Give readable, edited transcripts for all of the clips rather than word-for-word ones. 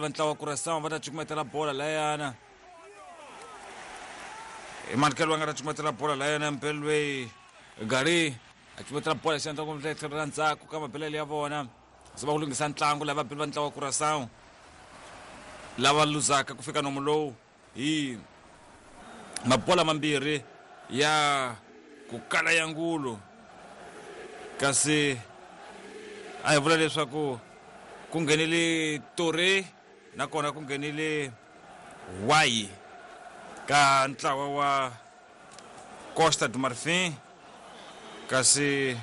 Va ntlawa wa Curaçao va ta cukumetela bola layana. I Markel va nga ta cukumetela bola layana mpelo loyi Gari a cukumetela bola xandla kumbe tlhelo ra ndzhaku ka mabelele ya vona. Se va ku lunghisa ntlangu lava vabeli va ntlawa wa Curaçao lava luzaka ku fika nomu lowu hi mabola mambirhi ya ku kala ya ngulu kasi a hi vula leswaku ku nghenile Toure nakona ku nghenile Wayi ka ntlawa wa Costa do Marfim kasi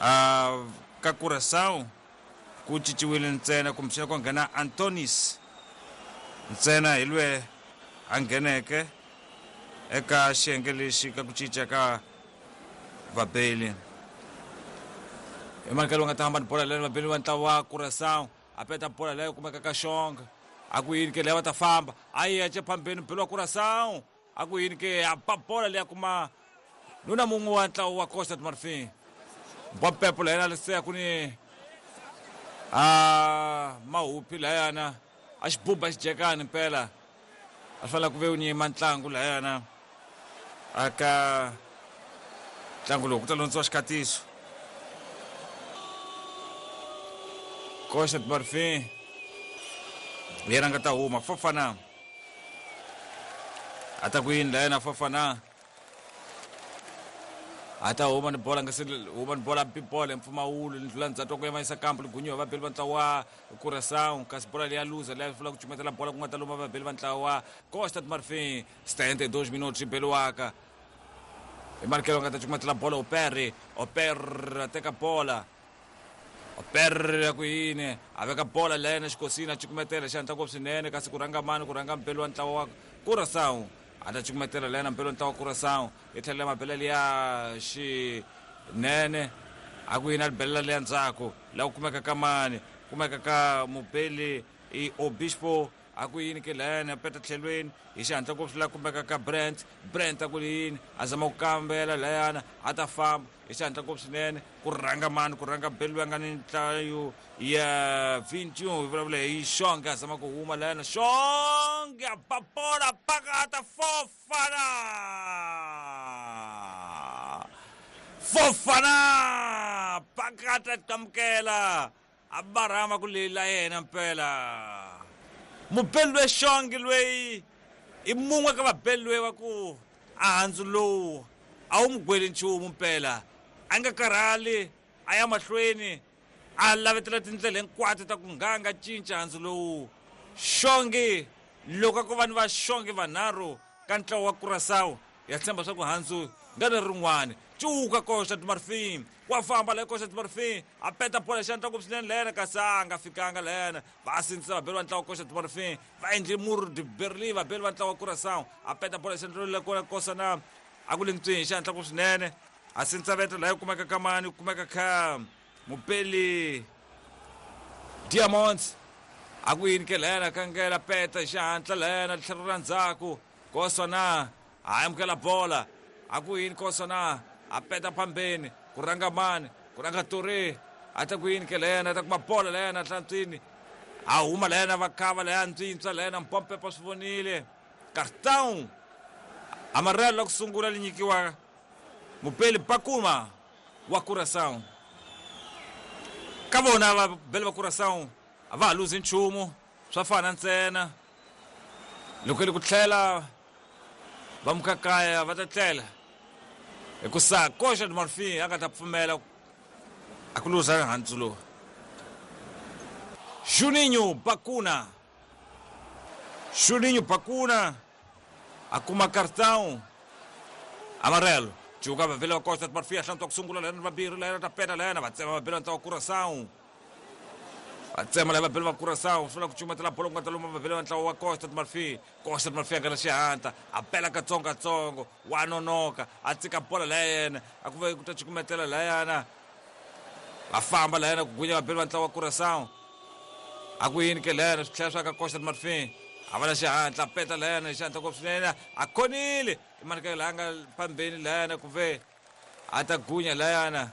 a ka Curaçao ku cinciwile ntsena kumbexana ku nghena Antonis ntsena hi lwe a ngheneke eka xiyenge lexi ka ku cinca ka vabeli. I mani loyi nga ta hamba ni bola leyi vabeli va ntlawa wa Curaçao a peta bola leyi kumeka ka Xonga a ku yini ke leyi va ta famba a yi ya phambeni mubeli wa Curaçao a ku yini ke a ba bola leyi a kuma nuna mun'we wa ntlawa wa Costa do Marfim Mbompepo layana lesiya ku ni a mahupi layana a xibuba xijekani mpela a swi fanele ku ve u nyima ntlangu layana aka ntlangu lowu ku ta londziwa xikhatiso Costa do Marfim yena nga ta huma Fofana a ta ku yini layana Fofana a ta huma ni bola nga se huma ni bola bi bola mpfumawulo ni ndlula ndzhaku ku yavanyisa kampu ligunyiwa vabeli va ntlawa wa Curaçao kasi bola leya luza leya fula ku cumetela bola ku nga ta luma vabeli va ntlawa wa Costa do Marfim 72 minutos yi beliwaka hi Markelo nga ta cukumetela bola Opere Opere a teka bola Opere ya ku yini a veka bola leyana xikosini a cukumetela xi hatla ngopfu swinene kasi ku rhanga mani ku rhanga mbeli wa ntlawa wa Curaçao a ta cukumetela leyana mbeli wa ntlawa wa Curaçao yi tlhelela mabelele ya xinene a ku yini a belela leya ndzhaku laha ku kumeka ka mani kumeka ka mubeli i Obispo a ku yini ke layani a peta tlhelweni hi xihatla ngopfu laha kumeka ka Brent Brent a ku yini a zama ku kambela layana a ta famba hi xihatla ngopfu swinene ku rhanga mani ku rhanga beli loyi a nga ni nhlayo ya 21 hi vulavula hi Xonge a zama ku huma layana Xonge a ba bola pakata Fofana Fofana pakata qamukela a barhama ku lela yena mpela mubeli loyi Xongi loyi i mun'we ka vabeli loyi va ku a handzu lowu a wu mu gweli nchumu mpela a nga karhali a ya mahlweni a lavetela tindlela hinkwato ta ku nga nga cinca handzu lowu Xongi loko a ko va ni va Xongi vanharhu ka ntlawa wa Curaçao ya tshemba swa ku handzu nga ri rin'wana cuka Costa do Marfim wa famba la Costa do Marfim a peta bola xandla ngopfu swinene lena kasi a nga fikanga lena va sindzisa vabeli va ntlawa Costa do Marfim va endle mur de Berlin vabeli va ntlawa Curaçao a peta bola xandla le kona kosa na a ku le ntswini xandla ngopfu swinene a sindzisa veta laha kumeka ka mani kumeka kha mupeli Diamonds a ku yini ke lena kangela peta xihatla lena tlhelo ra ndzhaku kosa na a amukela bola a ku yini kosa na a peta phambeni ku rhanga mani ku rhanga Toure a ta ku yini ke lena a ta kuma bola lena hlantswini a huma lena va khava leya ntswintswa lena mpompepa swi vonile cartão amarelo la ku sungula li nyikiwa mupeli Bakuma wa Curaçao ka vona vabeli va Curaçao a va ha luzi nchumu swa fana ntsena loko li ku tlhela va muka kaya va ta tlela hikusa Costa do Marfim a nga ta pfumela a ku luza handzu lowu Juninho Bakuna Juninho Bakuna a kuma cartão amarelo cuka vavele va Costa do Marfim a hlantswa ku sungula lena vambirhi lena ta peta lena va tsema vabeli va ntlawa Curaçao va tsema lava vabeli va Curaçao swi vula ku cukumetela bolo ku nga ta luma vabeli va ntlawa wa Costa do Marfim Costa do Marfim a nga na xihatla a bela katsongokatsongo wa nonoka a tsika bola laya yena a ku ve ku ta cukumetela layana va famba layana ku gunya vabeli va ntlawa wa Curaçao a ku yini ke layana swi tlhela swa ka Costa do Marfim a va na xihatla a peta layana hi xihatla ngopfu swinene a khonile i mani ka laha nga phambeni layana ku ve a ta gunya layana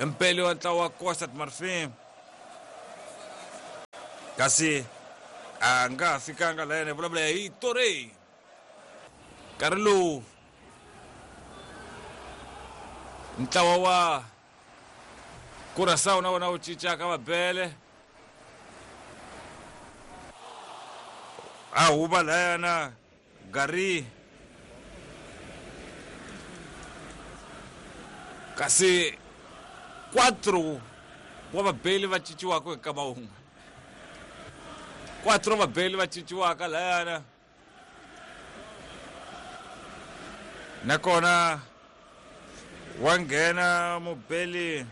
mpeli wa ntlawa wa Costa do Marfim. Kasi a nga fikanga la yena, hi vulavula hi Torre. Nkarhi lowu ntlawa wa Curaçao na wona wu cincaka vabele. A huva layana Gary. Kasi 4 wa vabeli va cinciwaka hi nkama wun'we. 4 vabeli va cinciwaka layana. Nakona wa nghena mubeli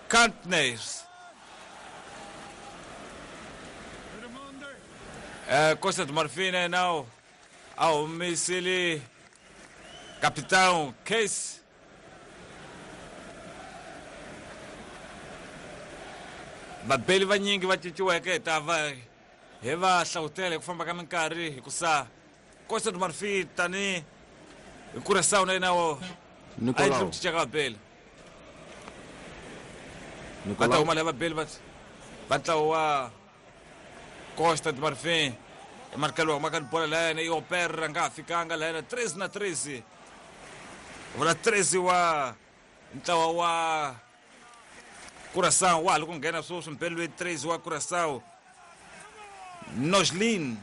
Kantnes. Costa do Marfim, né? Não, a humisile capitão Case. Vabeli vanyingi va cinciweke hi ta va hi va hlavutela hi ku famba ka minkarhi, hikusa Costa do Marfim tani hi Curaçao na yena wo a endli ku cinca ka vabeli. Va ta huma lava vabeli va ntlawa wa Costa do Marfim. Emarkelo wa humaka ni bola la yena i Opera, nga ha fikanga la yena 13 na 13. Vula 13 wa ntlawa wa Curaçao wa ha ri ku nghena sweswi mbeli loyi 13 wa Curaçao. Noslin.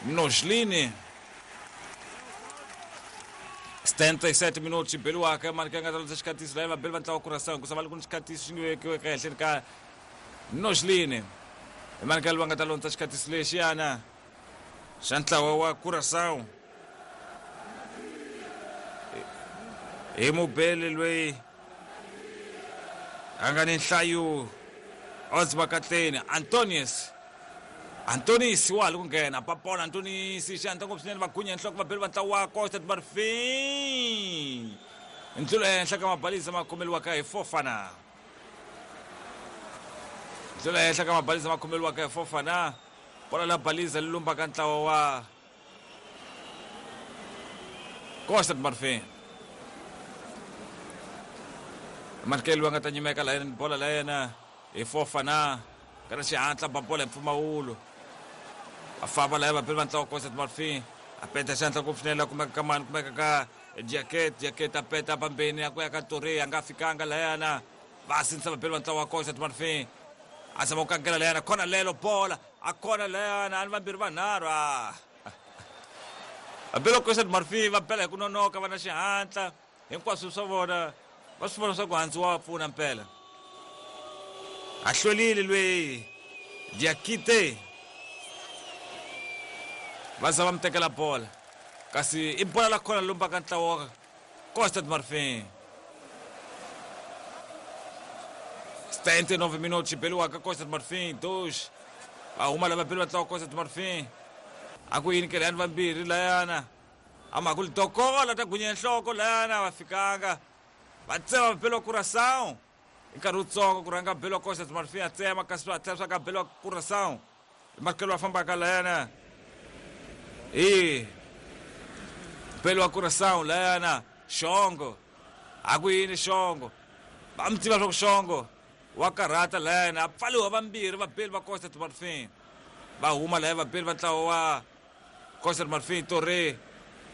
Noslin. 77 minutos xibeliwaka mali ka nga ta lutsa xikhatisi laha vabeli va ntlawa wa Curaçao hikusa va ri ku ni xikhatisi xi nge vekiweke ehenhleni ka Noslin. Mali ka va nga ta londza xikhatisi lexiyana xa ntlawa wa Curaçao. Hi mubeli loyi a nga ni nhlayo Odzimakatleni Antonius. Antonis wa ha ri ku nghena papola Antonis xi hatla ngopfu swinene, va gunya nhloko vabeli va ntlawa wa Costa do Marfim. Ndlula ehenhla ka mabalisa ma khomeriwaka hi Fofana. Ndlula ehenhla ka mabalisa ma khomeriwaka hi Fofana. Bola la balisa li lumbaka ntlawa wa Costa do Marfim. Markelo va nga ta nyimeka la yena bola la yena hi Fofana. Kana xihatla ba bola hi mpfumawulo. Va famba laya vabeli va ntlawa Costa do Marfim. A peta xandla ngopfu swinene la kumeka ka mani, kumeka ka Jacket, Jacket a peta pambeni a ku ya ka Torre, a nga fikanga layana. Va sindzisa vabeli va ntlawa wa Costa do Marfim. A zama ku kangela layana, khona lelo bola, a khona layana, a ni vambirhi vanharhu. Vabeli va Costa do Marfim va bela hi ku nonoka, va na xihatla. Hinkwaswo swa vona va swi vona swa ku handzi wa va pfuna mpela. A hlwerile loyi Diakite. Va za va mi tekela bola. Kasi i bola la khona lumbaka ntlawa wa Costa do Marfim. 79 minutos xibeliwaka Costa do Marfim 2. Va huma lava beli va ntlawa Costa do Marfim. A ku yini ke layani vambirhi layana. A ku li dokola ta gunya nhloko layana va fikanga. Va tsema beli wa Curaçao. Hi nkarhi wutsongo ku rhanga beli wa Costa do Marfim a tsema, kasi swi hatla swa ka beli wa Curaçao. Markelo wa fambaka layana. Beli wa Curaçao layana Xongo. A ku yini Xongo? Va mi tiva swa ku Xongo wa karhata layana, a pfaliwa vambirhi vabeli va Costa do Marfim. Va huma laya vabeli va ntlawa wa Costa do Marfim. Torre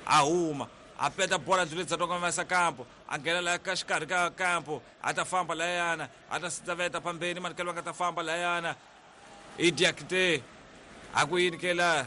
a huma, a peta bola ndluleni dza tonga va kampo, a nghena laya ka xikarhi ka kampo, a ta famba layana, a ta sitaveta pambeni, Markelo va nga ta famba layana. I Diakite. A ku yini ke la?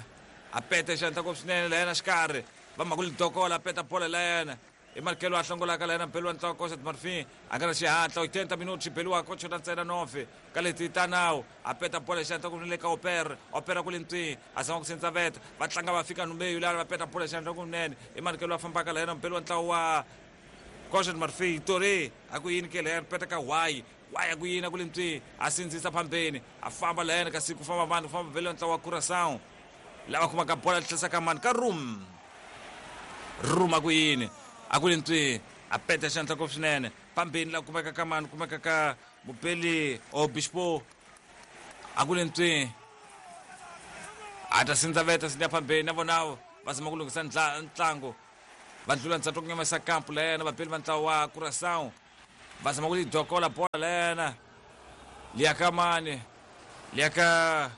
A peta xandla ngopfu swinene layana xikarhi. Va mhaka li dokola, a peta bola layana. I Markelo a hlongolaka layana mbeli wa ntlawa Costa do Marfim. A nga na xihatla 80 minutos xibeliwaka ko chota ntsena 9 ka leti ta nawu. A peta bola xandla ngopfu le ka Opera. Opera ku le ntwini, a zama ku sindzaveta. Va tlanga va fika numbeyu lana, va peta bola xandla kunene. I Markelo a fambaka layana mbeli wa ntlawa wa Costa do Marfim. Torre a ku yini ke layana, peta ka Y. Y a ku yini, a ku le ntwini, a sindzisa phambeni, a famba layana, kasi ku famba vanhu, ku famba vele ntlawa wa Curaçao. Lava kumaka bola tlhisa ka mani ka Room. Room a ku yini, a ku le ntwini, a peta xandla ngopfu swinene. Phambeni la kumeka ka mani, kumeka ka Mupeli Obispo. A ku le ntwini, a ta sindzaveta sindza phambeni na vona va zama ku lunghisa ntlangu. Va ndlula ndzhaku ku nyamisa kampo la yena vabeli va ntlawa wa Curaçao. Va zama ku lidokola bola layana liya ka mani, liya ka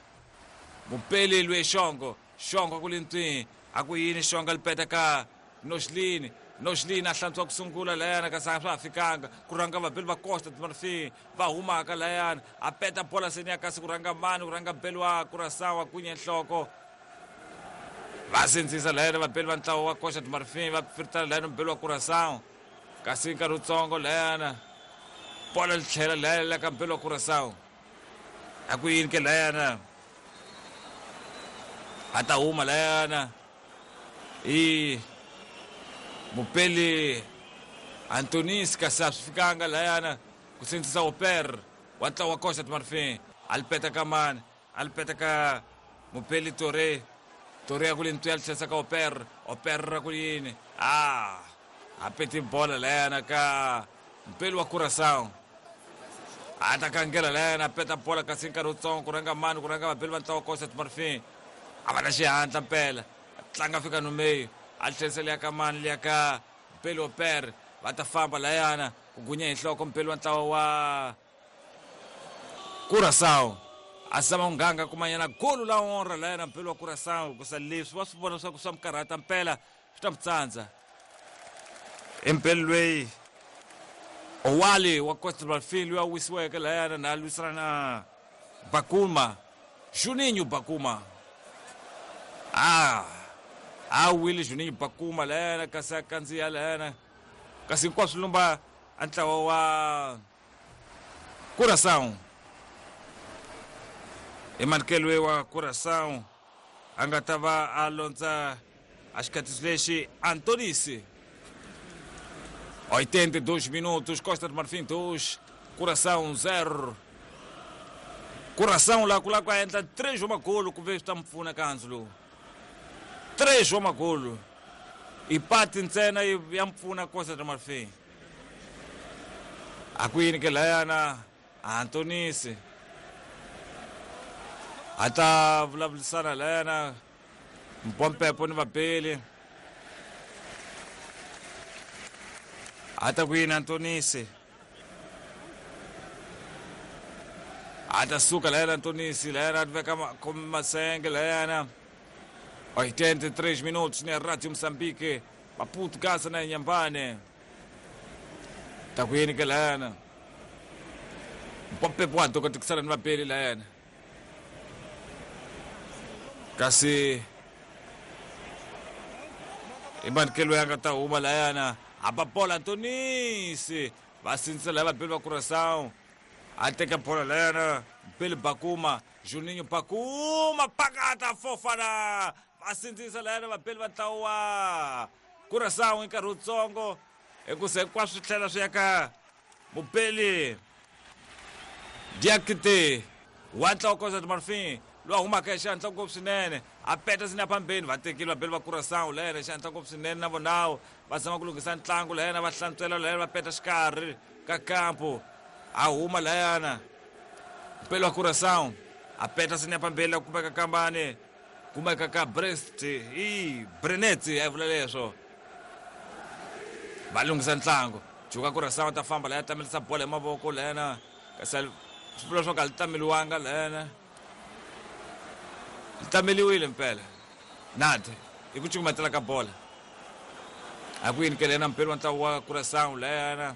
mupeli lwe Xongo. Xongo ku li ntwi, a ku yini Xongo lipeta ka Noxlini. Noxlini a hlantswa ku sungula layana, kasi a swa ha fikanga ku rhanga vabeli va Costa do Marfim va humaka layana, a peta bola seni ya kasi ku rhanga mani, ku rhanga beli wa Curaçao a kunye nhloko. Va sindzisa layana vabeli va ntlawa wa Costa do Marfim va firitana layana mubeli wa Curaçao, kasi nkarhi wutsongo layana bola li tlhela layana la ka mubeli wa Curaçao. A ku yini ke layana, a ta huma layana i mupeli Antonis, kasi a swi fikanga layana ku sindzisa Oper wa ntlawa wa Costa do Marfim. A li peta ka mani, a li peta ka mupeli Tore. Tore ya ku li ntwi, a li tlherisa ka Oper. Oper ra ku yini, a peti bola layana ka mupeli wa Curaçao. A ta kangela layana, a peta bola, kasi nkarhi wutsongo ku rhanga mani, ku rhanga vabeli va ntlawa wa Costa do Marfim. A va na xihatla mpela, tlanga fika no meio, a tlherisa liya ka mani, liya ka mpeli Oper. Va ta famba layana ku gunya hi nhloko mpeli wa ntlawa wa Curaçao. A zama ku nganga kumanyana golu la honra layana mpeli wa Curaçao, kusa leswi va swi vona leswaku swa mi karhata mpela, swi ta mi tsandza. Empeli lweyi Owali wa Costa do Marfim loyi a wisiweke layana na lwisana na Bakuma, Juninho Bakuma. A wile Juninho Bakuma layana, kasi a kandziya layana, kasi hinkwaswo lumba a ntlawa wa Curaçao. I wa Curaçao a nga ta va a londza a xikatiso lexi Antonisi. 82 minutos, Costa do Marfim 2, Curaçao 0. Curaçao la ku lava ku endla 3 wa magolo ku ve swi ta mi pfuna ka handzu lowu. 3 wa magolo i pati ntsena ya mi pfuna Costa do Marfim. A ku yini ke layana Antonisi a ta vulavurisana layana Mpompepo ni vabeli. A ta ku yini Antonisi, a ta suka layana Antonisi layana a veka masenge layana. 83 minutos na Rádio Moçambique, Maputo, Gaza na Inhambane. Ta ku yini ke layana Mpompepo wa dokotikisana ni vabeli layana, kasi i manikelo ya nga ta huma layana. A ba bola Antonisi, va sindzisa laya vabeli va Curaçao. A teka bola layana Mpeli Bakuma, Juninho Bakuma pakata Fofana. Va sindzisa layana vabeli va ntlawa wa Curaçao hi nkarhi wutsongo, hikusa hinkwaswo swi tlhela swi ya ka mupeli Diakite wa ntlawa Costa do Marfim loyi a humaka hi xihatla ngopfu swinene. A peta sini ya phambeni, va tekile vabeli va Curaçao layena hi xihatla ngopfu swinene, na vonawo va zama ku lunghisa ntlangu layena, va hlantswela layena, va peta xikarhi ka kampo. A huma layana mpeli wa Curaçao, a peta sini ya phambeni la kumeka kambani, kumeka ka Brest i Brenet, a vula leswo va lunghisa ntlangu. Juka Curaçao ta famba laya, tamelisa bola hi mavoko layana, kasi swi vula leswaku a li tameliwanga layana, li tameliwile mpela nade i ku cukumetela ka bola. A ku yini ke layana mpeli wa ntlawa wa Curaçao layana,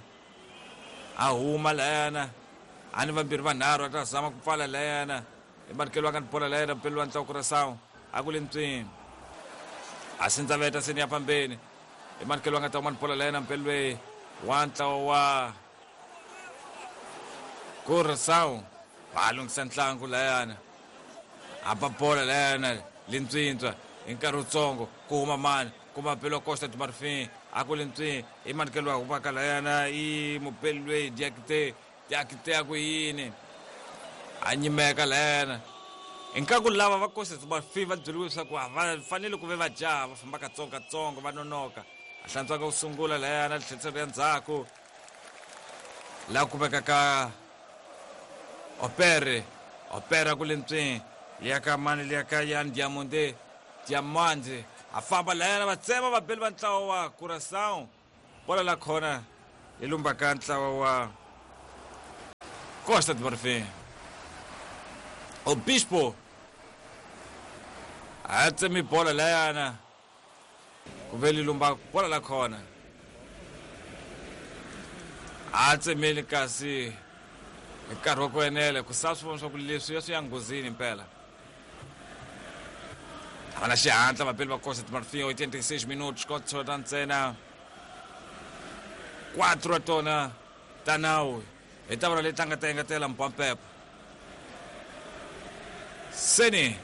a huma layana, a ni vambirhi vanharhu, a ta zama ku pfala layana. I manikelo wa ka ni bola layana mpeli wa ntlawa Curaçao a ku le ntswini, a sindzaveta seni ya phambeni. I manikelo wa nga ta huma ni bola layana mpeli lweyi wa ntlawa wa Curaçao. Va lunghisa ntlangu layana, a ba bola layana lintswintswa hi nkarhi wutsongo, ku huma mani, kuma belo Costa do Marfim a ku lintswi. I manikelo wa humaka layana i mupeli lweyi Diakite. Diakite a ku yini, a nyimeka layana. Inkaku lava va Costa do Marfim va byeriwe leswaku a va fanele ku ve va jaha, va famba katsongo katsongo, va nonoka. A hlantswaka ku sungula layana, tlheriselo ya ndzhaku la kumeka ka Opere. Opera ku le ntswini, liya ka mani, liya ka Yan Diamonde, Diamande. A famba layana, va tsema vabeli va ntlawa wa Curaçao. Bola la khona Yi lumbaka ntlawa wa Costa do Marfim. Obispo a tsemi bola layana ku ve li lumba bola la khona a tsemeli kasi hi nkarhi wa ku enela ku sa swi vona swa ku leswi ya swi ya nghozini mpela. A va na xihatla vapeli va Costa do Marfim. 86 minutos ko tsota ntsena 4 wa tona ta nawu hi ta vona leyi tlanga ta engetela mpwampepo seni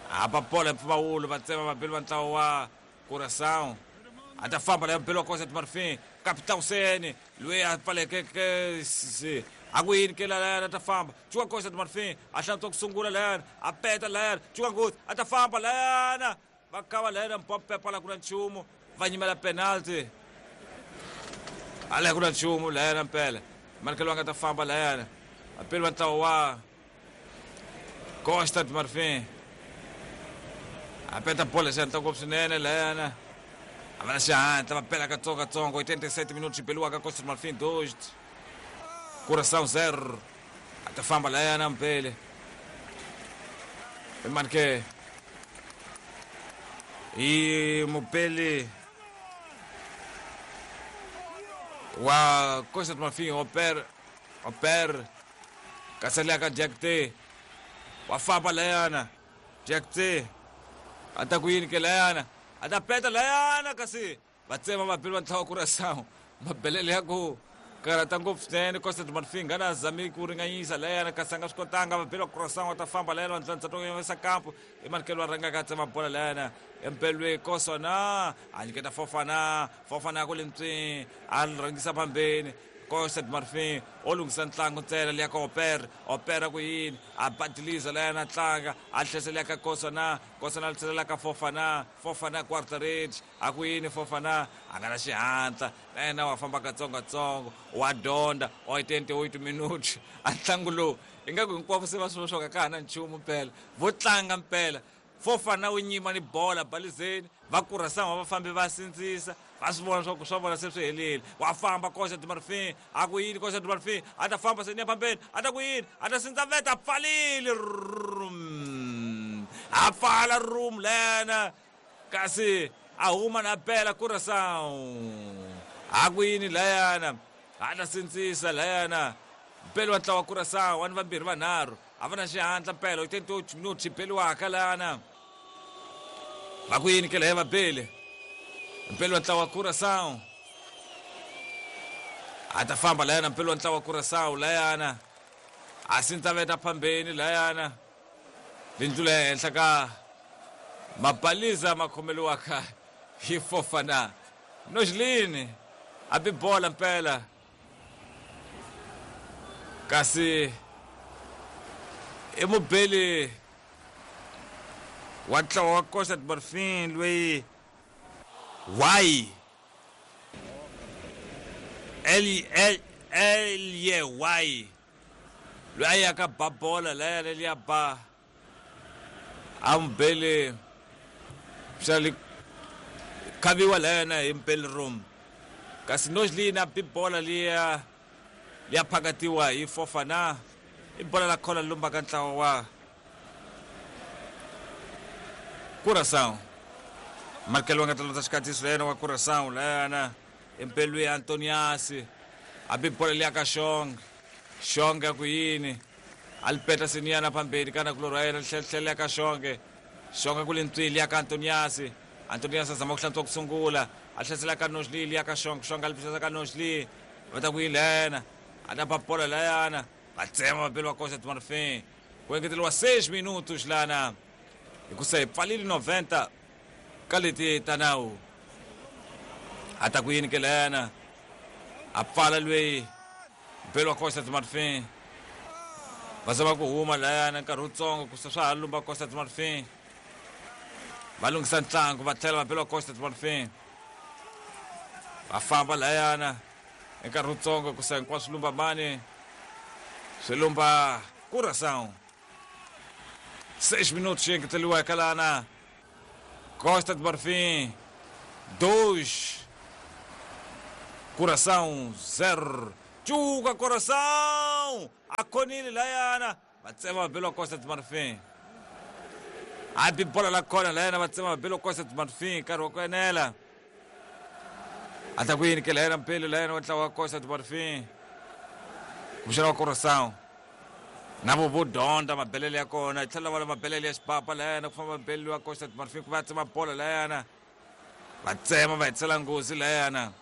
hapa bola mpfumawulo va tsema vabeli va ntlawa wa Curaçao. A ta famba leyo beli wa Costa do Marfim Capitão Sene loyi a pfalekeke a ku yini ke layana a ta famba cuka Costa do Marfim a hlantswa ku sungula layana a peta layana cuka nghozi a ta famba layana va kava layana mpwampepo ala ku na nchumu va nyimela penalty ala ku na nchumu layana mpela manikelo va nga ta famba layana vapeli va ntlawa wa Costa do Marfim a peta bola xihatla ngopfu swinene layana a va na xihatla va pela katsongokatsongo. 87 minutos beliwaka Costa do Marfim 2, Curaçao 0. A ta famba layana mpele i mani ke i mupeli wa Costa do Marfim Oper Oper kasi liya ka Jack T wa famba layana Jack T a ta ku yini ke layana a ta peta layana kasi va tsema vapeli va ntlawa Curaçao mabelele ya ku karhata ngopfu swinene. Costa do Marfim nga na zami ku ringanyisa layana kasi a nga swi kotanga. Vapeli va Curaçao va ta famba layana va ndlandza to yisa kampo i manikelo va rhangaka a tsema bola layana empelwe Kosona a nyiketa Fofana Fofana ku le ntswini a rhangisa phambeni Costa do Marfim o lunghisa ntlangu ntsena liya ka Oper Opera ku yini a badiliza layana a tlanga a tlhesa liya ka Kosona Kosona a tlhelela ka Fofana Fofana quarter range a ku yini Fofana a nga na xihatla na yena wa famba katsongokatsongo wa dyondza 88 minutos a ntlangu lowu ingaku hinkwavo se va swi swa ka ha na nchumu mpela vo tlanga mpela Fofana wu nyima ni bola balizeni va Curaçao va fambi va sindzisa va swi vona swa ku swa vona se swi helile. Wa famba Costa do Marfim a ku yini Costa do Marfim a ta famba se ni ya phambeni a ta ku yini a ta sindza veta a pfalile a pfala room lena kasi a huma na bela Curaçao a ku yini layana a ta sindzisa layana mpelo wa ntlawa Curaçao wa ni vambirhi vanharhu a va na xihatla mpela 88 minutos xi beliwaka lana va ku yini ke laya va bele mpelo wa ntlawa Curaçao a ta famba layana mpelo wa ntlawa Curaçao layana a sindza veta phambeni layana lindlu ya henhla ka mabaliza ma khomeliwaka hi Fofana Nojlini a bi bola mpela kasi i mubeli wa ntlawa wa Costa do Marfim loyi Y L L L Y Y loyi a yaka ba bola laya leliya ba a mubeli xa li khaviwa layana hi mpeli room kasi Nojlini a bi bola liya liya phakatiwa hi Fofana i bola la khola lumbaka ntlawa wa Curaçao Markelo nga ta londza xikatiso yena wa Curaçao layana empelweni Antoniasi a bi bola liya ka Xonge Xonge a ku yini a li peta seniyana phambeni ka nakulorhi wa yena tlhela ka Xonge Xonge ku le ntswili ya ka Antoniasi Antoniasi a zama ku hlantswa ku sungula a hlasela ka Nojli liya ka Xonge Xonge a li pfuxela ka Nojli va ta ku yini layana a ta ba bola layana va tsema vapeli va Costa do Marfim ku engeteriwa 6 minutos lana hikusa hi pfalile 90 ka leti ta nawu a ta ku yini ke layana a pfala lweyi mpelo wa Costa do Marfim va zama ku huma layana nkarhi wutsongo ku swa ha lumba Costa do Marfim va lunghisa ntlangu va tlhela vapeli wa Costa do Marfim va famba layana nkarhi wutsongo ku sa hinkwaswo lumba mani swi lumba Curaçao 6 minutos xi engeteriwa eka lana Costa do Marfim 2 Curaçao 0. Cuka Curaçao! A khonile layana va tsema vabelo wa Costa do Marfim. A bi bola la khona layana va tsema vabelo wa Costa do Marfim nkarhi wa ku enela. A ta ku yini ke layana mpelo layana wa ntlawa wa Costa do Marfim. Kumbexana wa Curaçao. Na vo vo dyondza mabelele ya kona yi tlhela va la mabelele ya xipapa layana ku famba mbelele wa Costa do Marfim ku va tsema bola layana. Va tsema va hetisela nghozi layana.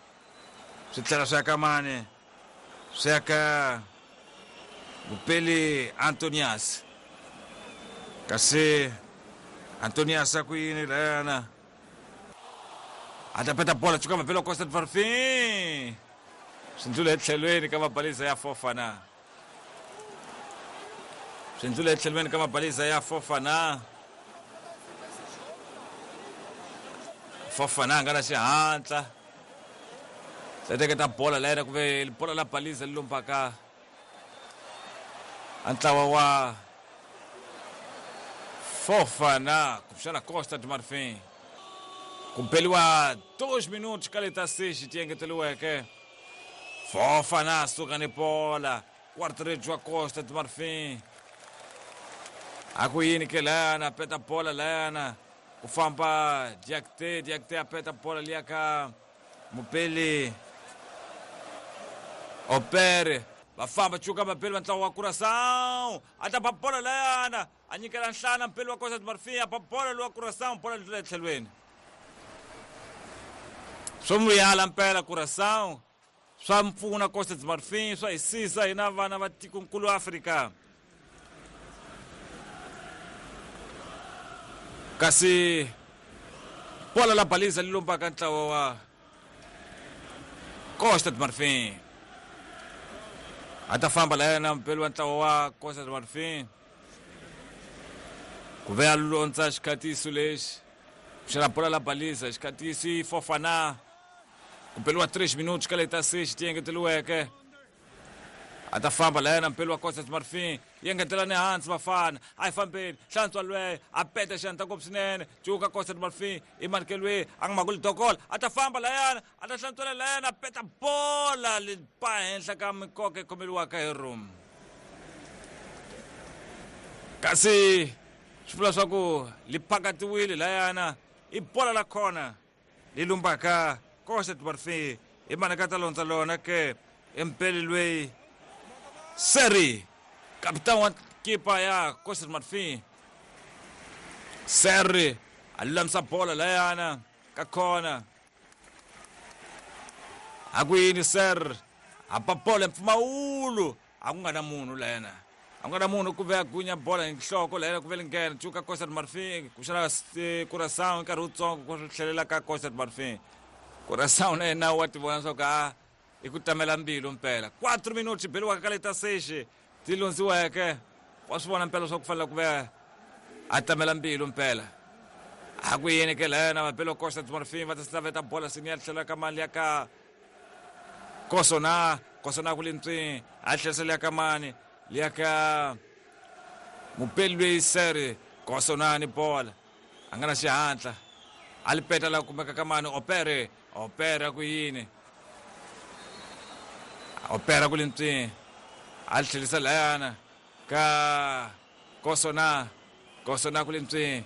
Swi tlhela swi ya ka mani? Swi ya ka Mupeli Antonias. Kasi Antonias a ku yini layana? A ta peta bola cuka mabelo wa Costa do Marfim. Swi ndlula etlhelweni ka mabaliza ya Fofana. Swi ndlula etlhelweni ka mabaliza ya Fofana. Fofana a nga na xihatla. Se teketa bola la yena ku ve bola la baliza li lombaka a ntlawa wa Fofana kumbexana Costa do Marfim. Ku beliwa 2 minutos ka leta 6 ti engeteriweke. Fofana suka ni bola. Quarto wa Costa do Marfim. A ku yini ke layana peta bola layana. Ku famba Diakite, Diakite a peta bola liya ka Mupeli Opere. Va famba cuka vapeli va ntlawa wa Curaçao. A ta ba bola layana. A nyikela nhlana Mpeli wa Costa do Marfim. A ba bola lowa Curaçao, bola li tlula etlhelweni. Swo muyala mpela Curaçao. Swa mpfuna Costa do Marfim, swa hisisa hina vana va tikonkulu Afrika. Kasi bola la baliza li lombaka ntlawa wa Costa do Marfim. A ta famba la yena mpeli wa ntlawa wa Costa do Marfim. Ku ve a londza xikhatiso lexi. Xana bola la baliza xikhatiso i Fofana. Ku beliwa 3 minutos ka leta 6 ti engeteriweke. A ta famba la yena mpeli wa Costa do Marfim. Yi engetela ni hansi vafana. A yi fambeni. Hlantswa lweyo. A peta xandla ngopfu swinene. Cuka Costa do Marfim. I markelwe a nga makuli dokola. A ta famba la yena. A ta hlantswela la yena. A peta bola li ba henhla ka mikoka yi khomeriwaka hi room. Kasi swi vula swa ku li phakatiwile layana i bola la khona li lumbaka Costa do Marfim. I mani ka ta londza lona ke empeli lweyi Seri, kapitani wa kipa ya Costa do Marfim. Seri a lulamisa bola layana ka khona. A ku yini Ser? A ba bola mpfumawulo. A ku nga na munhu layana. A ku nga na munhu ku ve a gunya bola hi nhloko layana ku ve li nghena. Cuka Costa do Marfim kuxana Curaçao nkarhi wutsongo ku tlhelela ka Costa do Marfim. Curaçao na yena wa ti vona swa ku a i ku tamela mbilu mpela. 4 minutos beliwaka ka leta 6 ti londziweke. Wa swi vona mpela swa ku fanele ku ve a tamela mbilu mpela. A ku yini ke layana vabelo Costa do Marfim va ta slaveta bola sini ya tlhela ka mali ya ka Kosona, Kosona ku le ntswini a tlherisa liya ka mani liya ka mupeli lweyi Seri Kosona ni bola a nga na xihatla a li peta la kumeka ka mani Opere, Opere ku yini Opera ku le ntswini a li tlherisa layana ka Kosona, Kosona ku le ntswini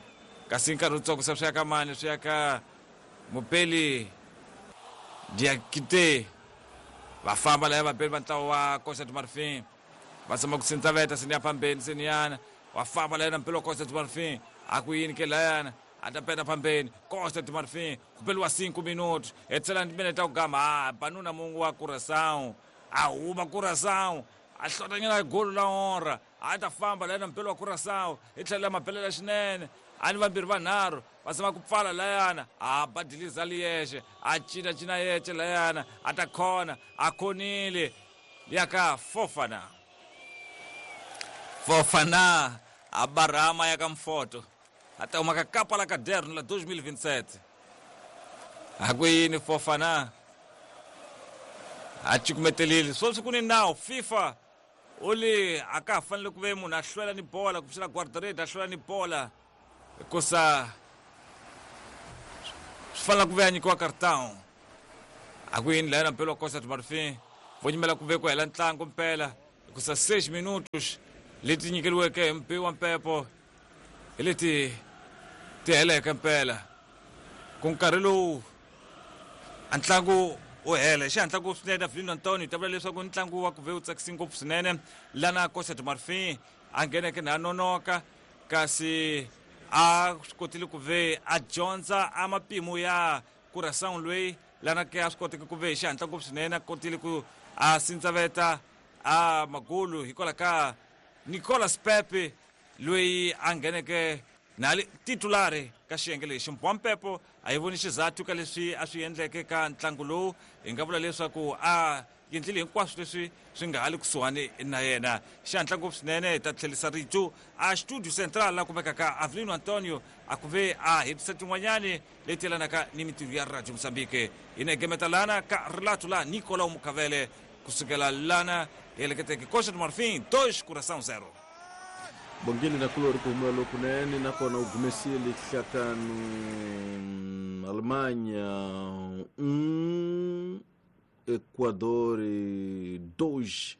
kasi nkarhi wutsongo se swi ya ka mani swi ya ka Mupeli Diakite. Va famba laya vapeli va ntlawa wa Costa do Marfim. Va tshama ku sindzaveta sini ya phambeni siniyana. Wa famba layana Mpeli wa Costa do Marfim. A ku yini ke layana? A ta peta phambeni. Costa do Marfim. Ku beliwa 5 minutos. Hetisela minete ta ku gama. Ha, banuna mungu wa Curaçao. A huma Curaçao. A hlotanyana golo la honra. A ta famba layana Mpeli wa Curaçao. I tlhela mabelela swinene. A ni vambirhi vanharhu. Va tshama ku pfala layana. A ba diliza li yexe. A cina cina yexe layana. A ta khona. A khonile. Ya ka Fofana. Fofana a barama ya ka Mfoto. A ta huma ka kapa la caderno la 2027. A ku yini Fofana? A cukumetelile. Sweswi ku ni nawu FIFA u li a ka ha fanele ku ve munhu a hlwela ni bola kumbexana guardarede a hlwela ni bola hikusa swi fanele ku ve a nyikiwa cartão. A ku yini lana mpela wa Costa do Marfim vo nyimela ku ve ku hela ntlangu mpela hikusa 6 minutos leti nyikeriweke hi mbi wa mpepo hi leti ti heleke mpela ku nkarhi lowu a ntlangu wu hela hi xihatla ngopfu swinene. Avelino Antonio ta vula leswaku ntlangu wa ku ve wu tsakisi ngopfu swinene lana Costa do Marfim a ngheneke na nonoka, kasi a swi kotile ku ve a dyondza a mapimo ya Curaçao loyi lana ke a swi koteke ku ve hi xihatla ngopfu swinene a kotile ku a sindzaveta a magulu hikwalaho ka Nicolas Pepe loyi a ngheneke na li titulari ka xiyenge lexi. Mbwampepo a yi voni xizathu ka leswi a swi endleke ka ntlangu lowu, hi nga vula leswaku a endlile hinkwaswo leswi swi nga ha le kusuhani na yena. Xihatla ngopfu swinene hi ta tlherisa rito a studio central la kumekaka Avelino Antonio a ku ve a hetisa tin'wanyani leti yelanaka ni mintirho ya Radio Mozambique. Hi na gemeta lana ka rilato la Nicolau Mukavele kusukela lana hi heleketeke Costa do Marfim 2 Curaçao 0. Bongile na kulori ku humela lokunene, nakona u gumesile hlakanu Alemanha 1, Equador 2.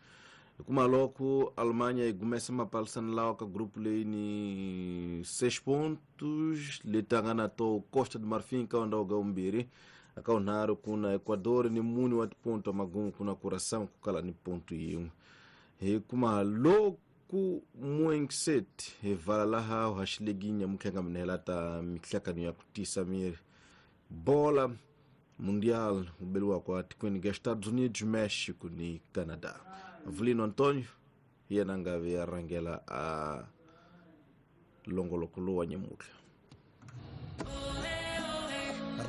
Kuma loko Alemanha yi gumesa mapalisani lawa ka grupu leyi ni 6 pontos, leti a nga na to Costa do Marfim ka ndhawu ga vumbirhi, aka vunharhu kuna Equador ni mune wa tiponto, magumu kuna Curaçao ku kala ni ponto yin'we. Hi kuma loku muengset hi vala laha haxileginya mukhenga minhela ta mihlakano ya ku tisa miri bola mundial ubeliwa kwa tikweni ga Estados Unidos, México ni Canadá. Avelino Antonio hi yena a nga ve ya rhangela a longoloko lowu wa nyamutlha.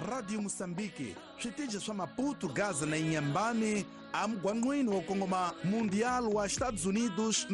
Radio Moçambique, switichi swa Maputo, Gaza na Inhambane, amugwangqwini wo kongoma Mundial wa Estados Unidos,